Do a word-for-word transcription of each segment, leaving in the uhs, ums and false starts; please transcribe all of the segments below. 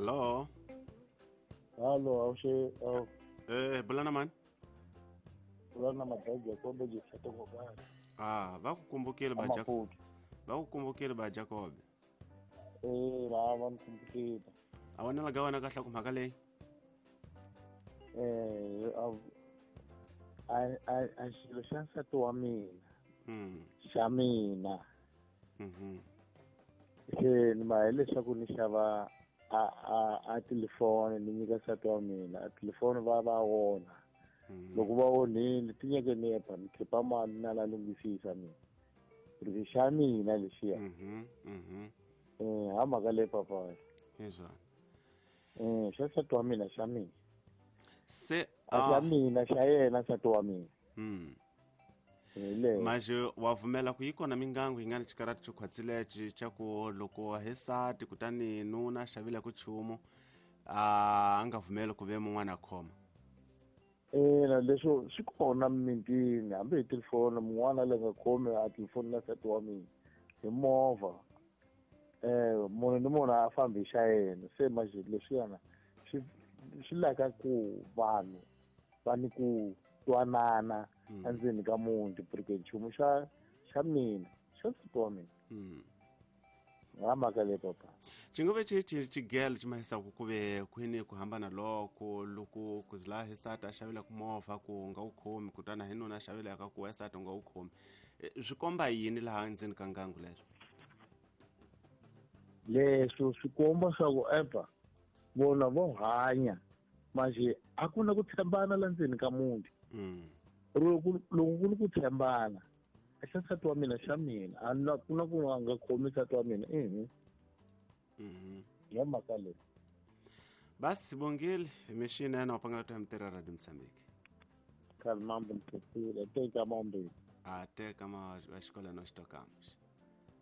Allo. Allo, awushe aw. Eh, bulana mani? Bulana madaji Jacob jifata kwa. Ah, va ku kumbukile ba Jacob. Va ku kumbukile ba Jacob. Eh, la va kumbukile. A wena la gawana kahle ku mhaka leyi? Eh, a a a xilo xa nsati wa mina. Mm. Xa mina. Mhm. Se ni ma leswaku ni xava a a a telefoni ni nyika nsati wa mina a telefoni va va wona. Loko va onhile ti nyeke ni epa ni khipa mali na la lunghisisa mina. Ri xa mina lexiya. Mhm. Mhm. Eh, ha mhaka leyi papa. Hi swona. Eh, xa nsati wa mina xa mina. Se a xa mina xa yena nsati wa mina. Mm. Le. Manje wa pfumela ku yi kona mingangu yi nga ni xikarati xo khwatsile xa ku loko hi sati kutani nuna xavile ku chumu a nga pfumeli ku ve mun'wana a khoma. Ina leswo swi kona mintini hambi hi telefoni mun'wana le nga khomi a telefoni na nsati wa mina hi movha. Eh munhu ni munhu a fambi xa yena se manje leswiyana swi swi laka ku vanhu va ni ku twanana endzeni ka muti porque nchumu xa xa mina xa nsati wa mina. Mm. Nga mhaka leyi papa. Xingove xi xi xigelo xi mahisaku ku ve kwini ku hambana loko loko ku laha hi sati a xavile ku movha ku nga wu khomi kutani hi nuna a xavile ka ku sati nga wu khomi swi komba yini laha ndzeni ka ngangu leswo? Leswo swi komba swa ku epa vona vo hanya manje a ku na ku tshembana la ndzeni ka muti. Mm. Loko loko ku ri ku tshembana a xa nsati wa mina xa mina a na ku na ku nga khomi nsati wa mina ehe. Mhm. Ya mhaka leyi. Basi bongile mishini yana wapanga ta mtera Radio Mozambique. Kalmambo mthetile teka mambo. A teka ma wa xikolo no xitokamos.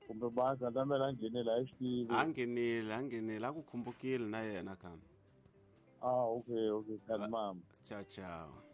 Kumbe basa ndamela nghenela a xitivi. A nghenile, a nghenile a ku khumbukile na yena kambe. Ah, okay, okay, kalmambo. Ciao ciao.